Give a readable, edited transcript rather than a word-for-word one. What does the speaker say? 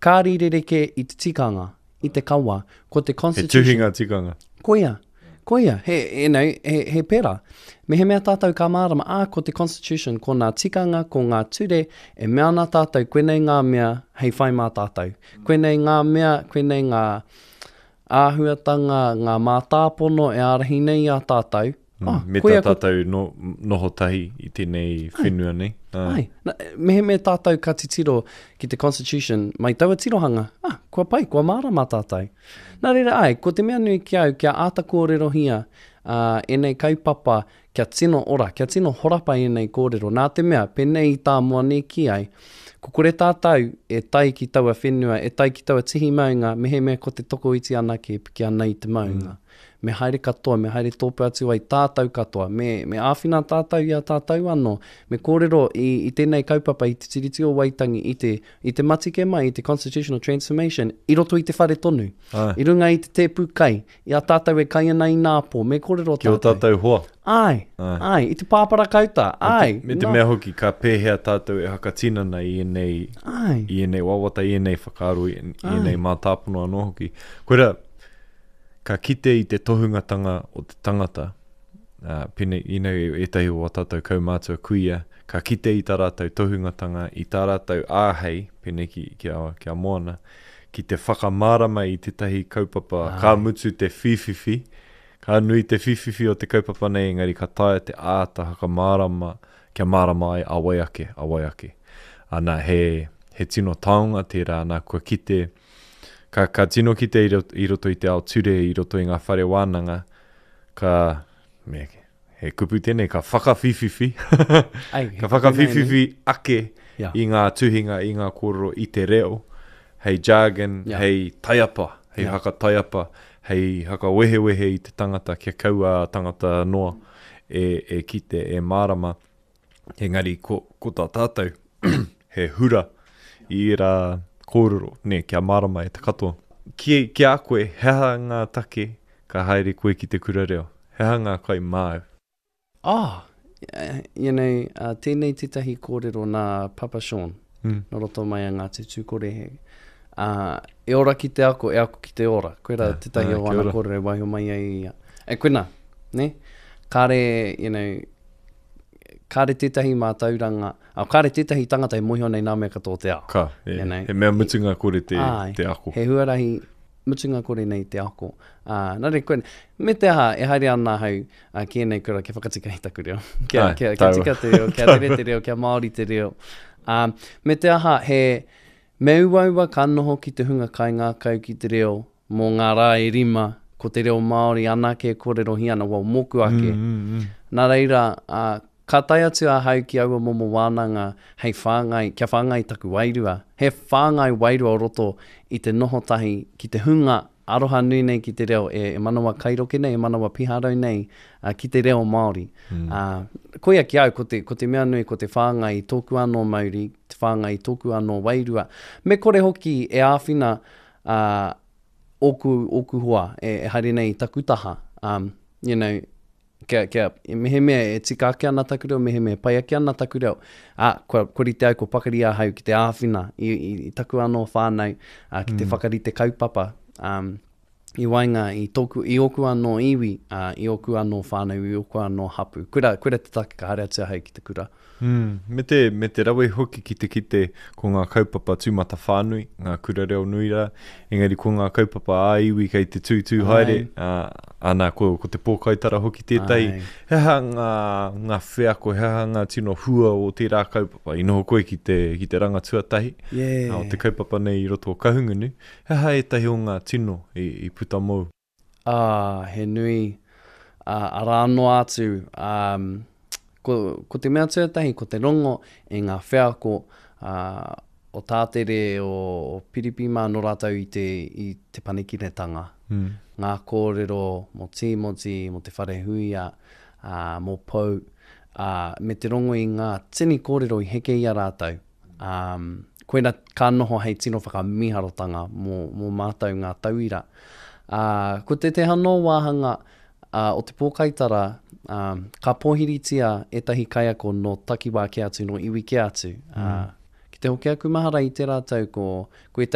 Kāre i rerekē i te tikanga, i te kawa, ko te He Constitution. tuhinga tikanga. Koia, koia, he, you know, he, he pērā. Mehemea tātou ka mārama, ā, ko te Constitution, ko ngā tikanga, ko ngā ture, e mea ana tātou, koinei ngā mea hei whai mā tātou. Koinei ngā mea, koinei ngā āhuatanga, ngā mātāpono e ārahi nei i a tātou, Mm, oh, me tā tātou no, noho tahi i tēnei whenua nei. Ah. Ai, na, mehemea tātou ka titiro ki te Constitution mai taua tirohanga, ah, kua pai, kua mārama tātou. Nā reira, ai, ko te mea nui ki au, kia āta kōrerohia uh, ēnei kaupapa, kia tino ora, kia tino horapa ēnei kōrero. Nā te mea, pēnei i tā Moani kī ai, ko kore tātou e tae ki taua whenua, e tae ki taua tihi maunga, mehemea ko te tokoiti anake e piki ana i te maunga. Mm. Me haere katoa, me haere tōpū atu ai tātou katoa, me, me āwhina tātou i a tātou anō, me kōrero i, i tēnei kaupapa i te Tiriti o Waitangi, i te, i te matike mai, i te Constitutional Transformation, i roto i te whare tonu, Āe. i runga i te tēpu kai, i a tātou e kai ana i nā pō, me kōrero Ki ō tātou. tātou hoa. Āe, Āe. āe, i te pāpara kauta, āe. Me te, me te nā. mea hoki, ka pēhea tātou e whakatinana i ēnei, Āe. i ēnei wawata, i ēnei whakaaro, i, i Āe. ēnei mātāpono anō hoki. Koirā, ka kite i te tohungatanga o te tangata, ā, pēnei, you know, ētahi o ā tātou kaumātua kuia, ka kite i tā rātou tohungatanga, i tā rātou āhei, pēnei ki, ki a, ki a Moana, ki te whakamārama i tētahi kaupapa, ka mutu te whīwhiwhi, ka nui te whīwhiwhi o te kaupapa nei, engari ka taea te āta whakamārama kia mārama ai a wai ake, a wai ake. Ana, he, he tino taonga tērā, nā, kua kite, Ka, ka tino kite i roto, i roto i te ao ture, i roto i ngā whare wānanga, ka, me, he kupu tēnei, ka whakawhiwhiwhi, Ai, he ka kupu whakawhiwhiwhi ake Yeah. i ngā tuhinga, i ngā kōrero, i te reo, hei jargon, Yeah. hei taiapa, hei Yeah. hakataiapa, hei hakawehewehe i te tangata kia kaua a tangata noa e, e kite, e mārama. Engari ko, ko tā tātou, he hura i ērā kōrero, nē, kia mārama e te katoa. Ki, ki a koe, he aha ngā take ka haere koe ki te kura reo? He aha ngā kai māu? Oh, you know, uh, tēnei tētahi kōrero nā Papa Sean, mm. nō roto mai a Ngāti Tūkorehe. Uh, e ora ki te ako, e ako ki te ora. Koira yeah, tētahi o ana kōrero e waiho mai ai ia. E koina, ne? Kāre, you know, kāre tētahi mātauranga, oh, kāre tētahi tangata e mōhio nei nā mea katoa o te ao. Ka, e, you know? he mea mutunga kore te, Āe, te ako. He huarahi mutunga kore nei te ako. Ā, nā reira, koe, me te aha, e haere ana ahau uh, ki ēnei kura kia whakatika i taku reo. Kia, Āe, kia, kia taua. tika te reo, kia rere te reo, kia Māori te reo. Um, me te aha, he, me uaua ka noho ki te hunga kaingākau ki te reo mō ngā rā e rima, ko te reo Māori anake e kōrerohia ana, well, mōku ake. Mm, mm, mm. Nā reira, ā, ka tae atu ahau ki aua momo wānanga hei whāngai, kia whāngai taku wairua. He whāngai wairua o roto i te noho tahi ki te hunga aroha nui nei ki te reo, e, e manawa kairoke nei, e manawa piharau nei, ā, ki te reo Māori. Mm. Ā, koia ki au, ko te, ko te mea nui, ko te whāngai i tōku anō mauri, te whāngai i tōku anō wairua. Me kore hoki e āwhina ā, ōku, ōku hoa e, e haere nei i taku taha, um, you know, kia, kia, mehemea e tika ake ana taku reo, mehemea e pai ake ana taku reo, ā, kua, kua rite au, kua pakari ahau ki te āwhina i, i, i taku anō whānau, ā, ki te mm. whakarite kaupapa, um, i waenga i tōku, i ōku anō iwi, ā, i ōku anō whānau, i ōku anō hapū. Koira, koira te take ka haere atu ahau ki te kura. Mm, me te, me te rawe hoki ki te kite ko ngā kaupapa tūmatawhānui, ngā kura reo nui rā, engari ko ngā kaupapa ā-iwi kei te tūtū haere, ā, ana, ko, ko te pōkaitara hoki tētahi. Āe. He aha ngā, ngā wheako, he aha ngā tino hua o tērā kaupapa? I noho koe ki te, ki te ranga tuatahi Yeah. o te kaupapa nei i roto o Kahungunu. He aha ētahi o ngā tino i, i puta mōu? Ā, he nui, ā, arā noa atu, ā, ko, ko te mea tuatahi, ko te rongo i ngā wheako, ā, o Tātere, o, o Piripi mā nō rātou i te, i te panekiretanga. Mm. Ngā kōrero mō Tīmoti, mō Te Wharehuia, ā, mō Pou, ā, me te rongo i ngā tini kōrero i heke i a rātou. Ā, koina ka noho hei tino whakamīharotanga mō, mō mātou ngā tauira. Ā, ko tētehi anō wāhanga ā, o te pōkaitara, ā, ka pōhiritia ētahi kaiako nō takiwā kē atu, nō iwi kē atu. Ā, ki te hoki aku mahara i tērā tau ko, ko ētahi.